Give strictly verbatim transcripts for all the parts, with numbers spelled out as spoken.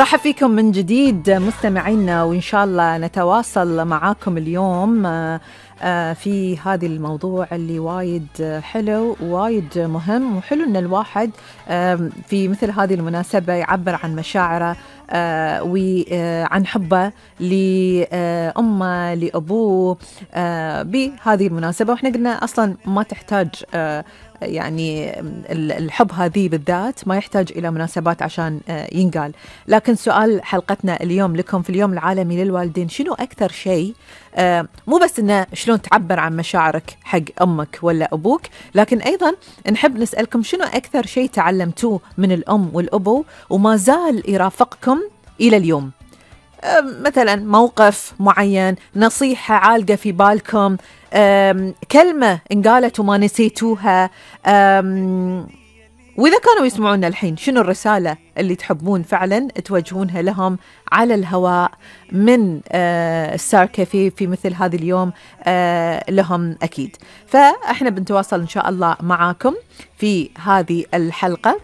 رحب فيكم من جديد مستمعينا، وإن شاء الله نتواصل معاكم اليوم في هذا الموضوع اللي وايد حلو ووايد مهم، وحلو أن الواحد في مثل هذه المناسبة يعبر عن مشاعره وعن حبه لأمه لأبوه بهذه المناسبة. وإحنا قلنا أصلا ما تحتاج يعني الحب هذه بالذات ما يحتاج إلى مناسبات عشان ينقال. لكن سؤال حلقتنا اليوم لكم في اليوم العالمي للوالدين، شنو أكثر شيء مو بس إنه شلون تعبر عن مشاعرك حق أمك ولا أبوك، لكن أيضا نحب نسألكم شنو أكثر شيء تعلمتوه من الأم والأبو وما زال يرافقكم إلى اليوم؟ مثلا موقف معين، نصيحة عالقة في بالكم، كلمة انقالت وما نسيتوها، وإذا كانوا يسمعونا الحين شنو الرسالة اللي تحبون فعلا توجهونها لهم على الهواء من ستار كافيه في مثل هذا اليوم لهم أكيد. فإحنا بنتواصل إن شاء الله معاكم في هذه الحلقة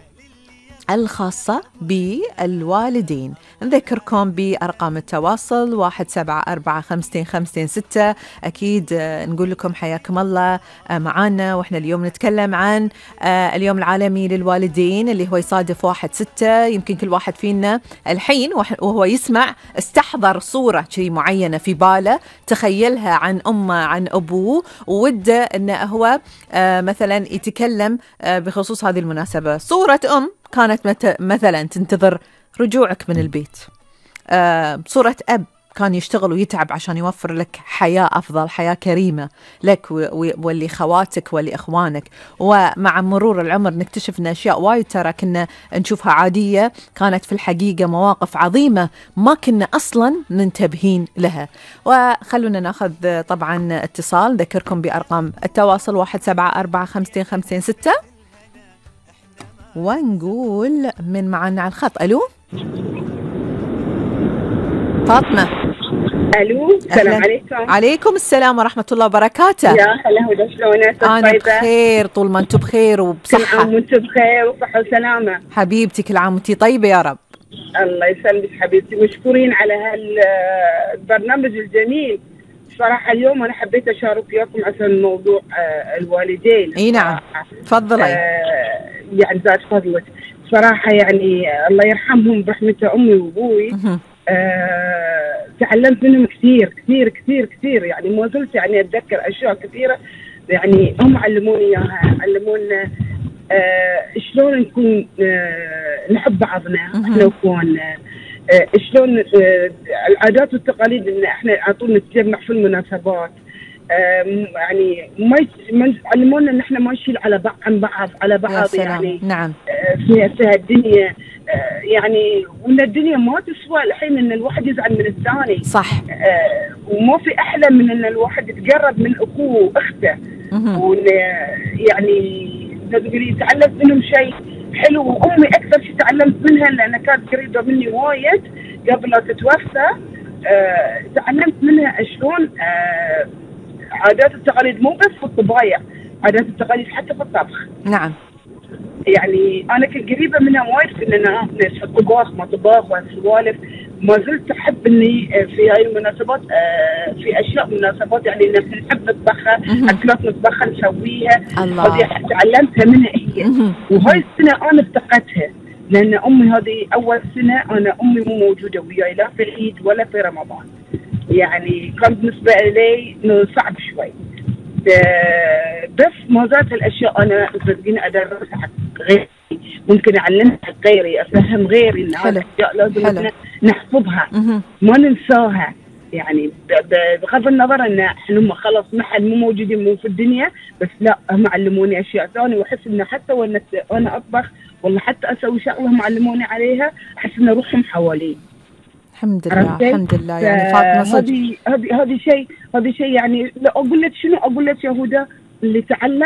الخاصة بالوالدين. نذكركم بأرقام التواصل واحد سبعة أربعة خمسة خمسة ستة. أكيد نقول لكم حياكم الله معانا، وإحنا اليوم نتكلم عن اليوم العالمي للوالدين اللي هو يصادف واحد ستة. يمكن كل واحد فينا الحين وهو يسمع استحضر صورة شيء معينة في باله، تخيلها عن أمه عن أبوه، ووده أنه هو مثلا يتكلم بخصوص هذه المناسبة. صورة أم كانت مثلا تنتظر رجوعك من البيت، آه صورة أب كان يشتغل ويتعب عشان يوفر لك حياة أفضل، حياة كريمة لك واللي خواتك واللي إخوانك. ومع مرور العمر نكتشف أن أشياء وايد ترى كنا نشوفها عادية كانت في الحقيقة مواقف عظيمة ما كنا أصلا منتبهين لها. وخلونا ناخذ طبعا اتصال، ذكركم بأرقام التواصل واحد سبعة أربعة خمسة خمسة ستة ونقول من معنا على الخط. ألو فاطمة. ألو السلام عليكم. عليكم السلام ورحمة الله وبركاته. يا هلا هدى، شلونك؟ أنا بخير طول ما أنتم بخير وبصحة. كل عام وأنتم بخير وصحة وسلامة حبيبتي، كل عام وأنتي طيبة يا رب. الله يسلمك حبيبتي، مشكورين على هالبرنامج الجميل. صراحة اليوم أنا حبيت أشارك وياكم عشان موضوع الوالدين. إي نعم تفضلي. آه يعني زاد فضلك صراحة، يعني الله يرحمهم برحمته أمي وأبوي. آه تعلمت منهم كثير كثير كثير كثير، يعني ما زلت يعني أتذكر أشياء كثيرة يعني هم علموني إياها. علمونا آه شلون نكون آه نحب بعضنا إحنا وإخواننا، آه شلون آه العادات والتقاليد إن إحنا على طول نتجمع في المناسبات. يعني ما علمونا ان احنا ما نشيل على بعض عن بعض على بعض يعني. نعم. في في الدنيا يعني، وان الدنيا ما تسوى الحين ان الواحد يزعل من الثاني. صح. وما في احلى من ان الواحد يتقرب من اخوه واخته، وان يعني تقدري تعلمت منهم شيء حلو. وامي اكثر شيء تعلمت منها لانها كانت قريبه مني وايد قبل لا تتوفى. تعلمت منها شلون عادات التقاليد مو بس في الطبايع، عادات التقاليد حتى في الطبخ. نعم. يعني أنا كنت قريبة منها وايد في إننا في الطباخ ما طباخ والسوالف. ما زلت أحب إني في هاي المناسبات في أشياء مناسبات يعني إن نحب نطبخها، أكلات نطبخها نسويها. هذه تعلمتها منها هي. وهاي السنة أنا افتقدتها لأن أمي هذه أول سنة أنا أمي مو موجودة وياي لا في العيد ولا في رمضان. يعني كان بالنسبة لي صعب شوي، بس ما زالت الأشياء أنا صدقيني أدرسها حق غيري، ممكن أعلمها حق غيري، أفهم غيري إن هذه الأشياء لازم نحفظها ما ننساها. يعني بغض النظر إن إحنا خلاص محل مو موجودين مو في الدنيا، بس لا هم علموني أشياء ثانية. وأحس إن حتى وأنا وأنا أطبخ والله حتى أسوي شغلة هم علموني عليها أحس إن روحهم حوالي. الحمد لله الحمد لله. يعني فاطمة صدق هذه هذه هذه شيء هذه شيء يعني لا أقول لك شنو أقول لك يا هدى اللي تعلم